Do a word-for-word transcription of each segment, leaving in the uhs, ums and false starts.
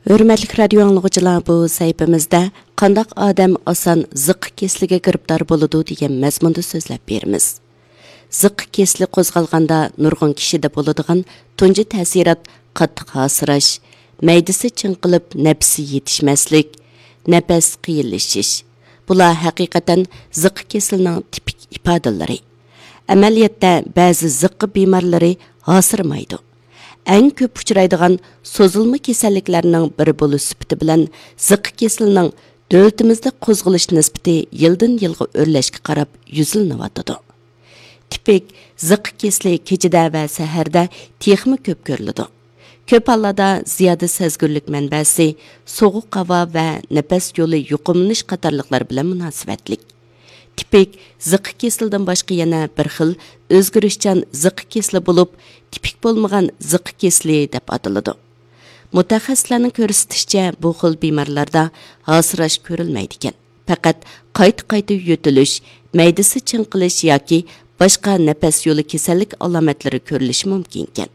ھۆرمەتلىك رادىيو ئاڭلىغۇچىلار، بۇ سەھىپىمىزدە قانداق ئادەم ئاسان زىققا كېسىلىگە گىرىپتار بولىدۇ دېگەن مەزمۇندا سۆزلەپ بېرىمىز. زىققا كېسىلى قوزغالغاندا نۇرغۇن كىشىدە بولىدىغان تۇنجى تەسىرات قاتتىق ھاسىراش، مەيدىسى چىڭقىلىپ نەپىسى يېتىشمەسلىك، نەپەس قىيىنلىشىش. بۇلار ھەقىقەتەن زىققا كېسىلىنىڭ تىپىك ئىپادىلىرى. ئەمەلىيەتتە بەزى زىققا بىمارلىرى ھاسىرىمايدۇ. ئەڭ كۆپ ئۇچرايدىغان سوزۇلما كېسەللىكلەرنىڭ بىرى بولۇش سۈپىتى بىلەن زىققا كېسىلىنىڭ دۆلىتىمىزدە قوزغىلىش نىسبىتى يىلدىن يىلغا ئۆرلەشكە قاراپ يۈزلىنىۋاتىدۇ. تىپىك زىققا كېسىلى كېچىدە ۋە سەھەردە تېخىمۇ كۆپ كۆرۈلىدۇ. كۆپ ھاللاردا زىيادە سەزگۈرلۈك مەنبەسى سوغۇق ھاۋا ۋە نەپەس يولى يۇقۇملىنىش قاتارلىقلار بىلەن مۇناسىۋەتلىك. تىپىك زىققا كېسىلىدىن باشقا يەنە بىر خىل ئۆزگىرىشچان زىققا كېسىلى بولۇپ، تىپىك بولمىغان زىققا كېسىلى دەپ ئاتىلىدۇ. مۇتەخەسسىسلەرنىڭ كۆرسىتىشىچە، بۇ خىل بىمارلاردا ھاسىراش كۆرۈلمەيدىكەن. پەقەت قايتا-قايتا يۆتىلىش، مەيدىسى چىڭقىلىش ياكى باشقا نەپەس يولى كېسەللىك ئالامەتلىرى كۆرۈلۈشى مۇمكىنكەن.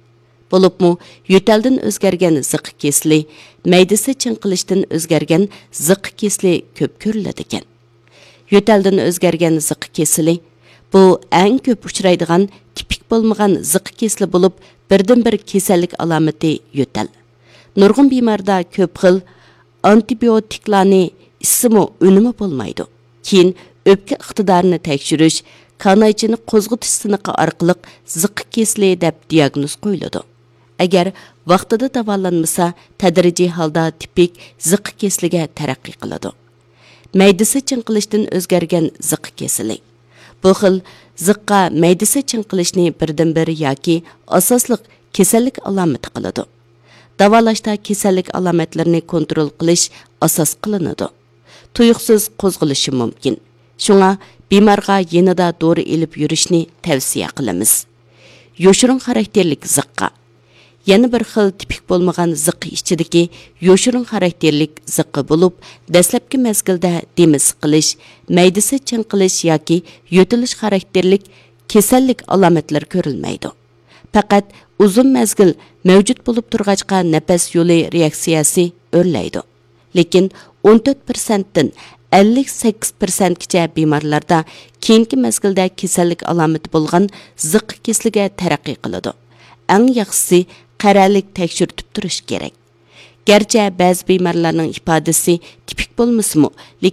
بولۇپمۇ يۆتەلدىن ئۆزگەرگەن زىققا كېسىلى، مەيدىسى چىڭقىلىشتىن ئۆزگەرگەن زىققا كېسىلى كۆپ كۆرۈلىدىكەن. يۆتەلدىن ئۆزگەرگەن زىققا كېسىلى، بۇ ئەڭ كۆپ ئۇچرايدىغان تىپىك بولمىغان زىققا كېسىلى بولۇپ، بىردىنبىر كېسەللىك ئالامىتى يۆتەل. نۇرغۇن بىماردا كۆپ خىل ئانتىبىيوتىكلارنى ئىچسىمۇ ئۈنۈمى بولمايدۇ. كېيىن ئۆپكە ئىقتىدارىنى تەكشۈرۈش، كانايچىنى قوزغىتىش سىنىقى ئارقىلىق زىققا كېسىلى دەپ دىياگنوز قويۇلىدۇ. ئەگەر ۋاقتىدا داۋالانمىسا، تەدرىجىي ھالدا تىپىك زىققا كېسىلىگە تەرەققىي قىلىدۇ. مەيدىسى چىڭقىلىشتىن ئۆزگەرگەن زىققا كېسىلى. بۇ خىل زىققا مەيدىسى چىڭقىلىشنى بىردىنبىر ياكى ئاساسلىق كېسەللىك ئالامىتى قىلىدۇ. داۋالاشتا كېسەللىك ئالامەتلىرىنى كونترول قىلىش ئاساس قىلىنىدۇ. تۇيۇقسىز قوزغىلىشى مۇمكىن. شۇڭا بىمارغا يېنىدا دورا ئېلىپ يۈرۈشنى تەۋسىيە قىلىمىز. يوشۇرۇن خاراكتېرلىك زىققا. يەنە بىر خىل تىپىك بولمىغان زىققا ئىچىدىكى يوشۇرۇن خاراكتېرلىك زىققا بولۇپ، دەسلەپكى مەزگىلدە دېمى سىقىلىش، مەيدىسى چىڭقىلىش ياكى يۆتىلىش خاراكتېرلىك كېسەللىك ئالامەتلىرى كۆرۈلمەيدۇ. پەقەت ئۇزۇن مەزگىل مەۋجۇت بولۇپ تۇرغاچقا نەپەس يولى رېئاكسىيەسى ئۆرلەيدۇ. لېكىن ئون تۆت پىرسەنتتىن ئەللىك سەككىز پىرسەنتكىچە بىمارلاردا كېيىنكى مەزگىلدە كېسەللىك ئالامىتى بولغان زىققا كېسىلىگە تەرەققىي قىلىدۇ. ئەڭ ياخشىسى قەرەللىك تەكشۈرتۈپ تۇرۇش كېرەك. گەرچە بەزى بىمارلارنىڭ ئىپادىسى تىپىك بولمىسىمۇ، لېكىن